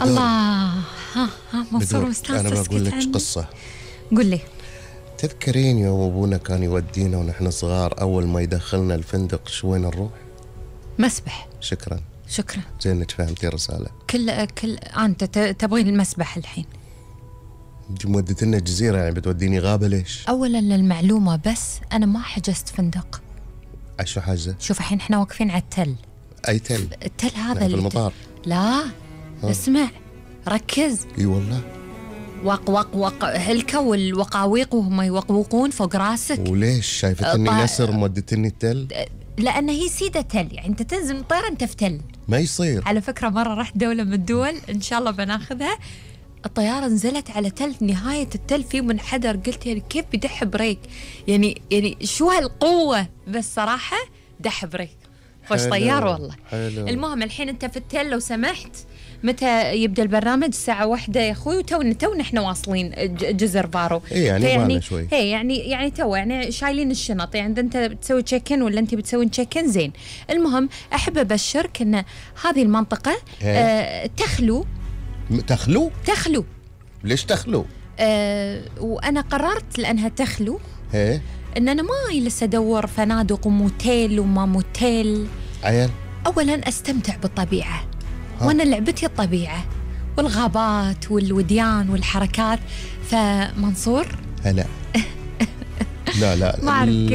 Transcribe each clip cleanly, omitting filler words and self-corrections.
الله. ها منصور مستانس. أنا بقول لك قصة. قل لي. تذكرين يوم أبونا كان يودينا ونحن صغار أول ما يدخلنا الفندق شوين نروح؟ مسبح. شكرا. زين إنك فهمتي الرسالة. كل أنت تبغين المسبح الحين؟ دي مودتنا الجزيرة، يعني بتوديني غابة ليش؟ أولا للمعلومة بس أنا ما حجزت فندق. شو حاجة؟ شوف الحين احنا واقفين على التل. أي تل؟ التل هذا في المطار. لا اسمع ركز. اي والله. وق هلكة والوقاويق وهم يوقوقون فوق راسك. وليش شايفتني نسر مودتني التل؟ لأن هي سيدة تل، يعني أنت تنزل من الطيارة أنت في تل. ما يصير. على فكرة مرة رحت دولة من الدول إن شاء الله بناخذها، الطيارة نزلت على تل، نهاية التل في منحدر، قلت يعني كيف بدح بريك، يعني شو هالقوة، بس صراحة دح بريك خوش طيار والله. حلو. المهم الحين أنت في التل، لو سمحت متى يبدأ البرنامج؟ الساعة 1 يا أخوي، وتونا إحنا واصلين جزر فارو. إيه يعني معنا شوي. هي يعني تو يعني شايلين الشنط، يعني أنت بتسوي تشيكن ولا أنت بتسوي تشيكن؟ زين. المهم أحب أبشرك إن هذه المنطقة تخلو. ليش تخلو؟ وأنا قررت لأنها تخلو إيه إن أنا ما لسه أدور فنادق وموتيل وما موتيل. عيال أولاً أستمتع بالطبيعة، وأنا لعبتي الطبيعة والغابات والوديان والحركات. فمنصور هلا لا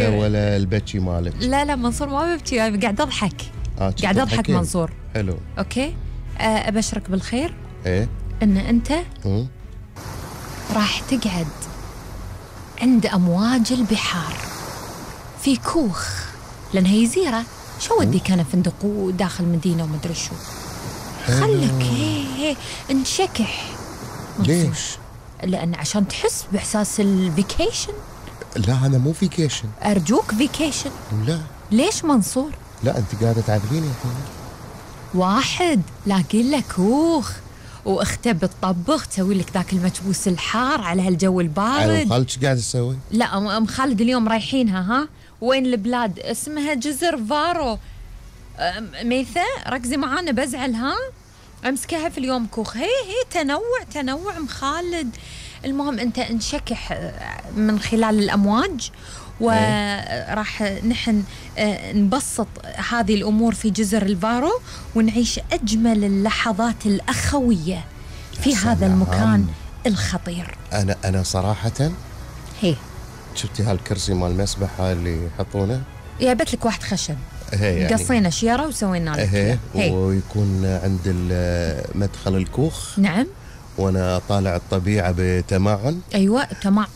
ولا البكي مالك. لا منصور ما ببكي، قاعد أضحك. قاعد أضحك منصور. حلو. أوكي. أبشرك بالخير. إيه إن أنت راح تقعد عند أمواج البحار في كوخ، لأن هي جزيرة. شو وديك أنا فندق وداخل مدينة ومدري شو. خلك هي انشكح. ليش؟ لأن عشان تحس بإحساس الفيكيشن. لا أنا مو فيكيشن. أرجوك فيكيشن. لا. ليش منصور؟ لا أنت قاعدة تعذبيني الحين. واحد لاقي لك كوخ واخته بتطبخ، تسوي لك ذاك المكبوس الحار على هالجو البارد. أنا خالد شو قاعد تسوي؟ لا أم خالد اليوم رايحينها. ها وين البلاد؟ اسمها جزر فارو. ميثة ركزي معانا بزعل. ها امسكها في اليوم كوخ. هي تنوع مخالد. المهم انت انشكح من خلال الامواج، وراح نحن نبسط هذه الامور في جزر الفارو، ونعيش اجمل اللحظات الاخويه في هذا المكان الخطير. انا صراحه هي شفتي هالكرسي مال المسبح اللي يحطونه؟ جايبت لك واحد خشب، يعني قصينا شيره وسوينا لك. ويكون عند مدخل الكوخ. نعم. وانا طالع الطبيعه بتمعن. ايوه تمعن.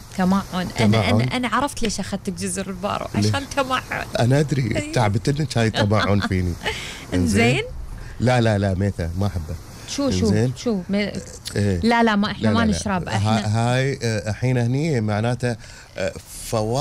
انا عرفت ليش اخذتك جزر الفارو، عشان تمعن. انا ادري تعبت انك هاي تمعن فيني. زين. لا ميثا ما احبه. شو لا ما احنا ما نشرب. هاي الحين هني معناته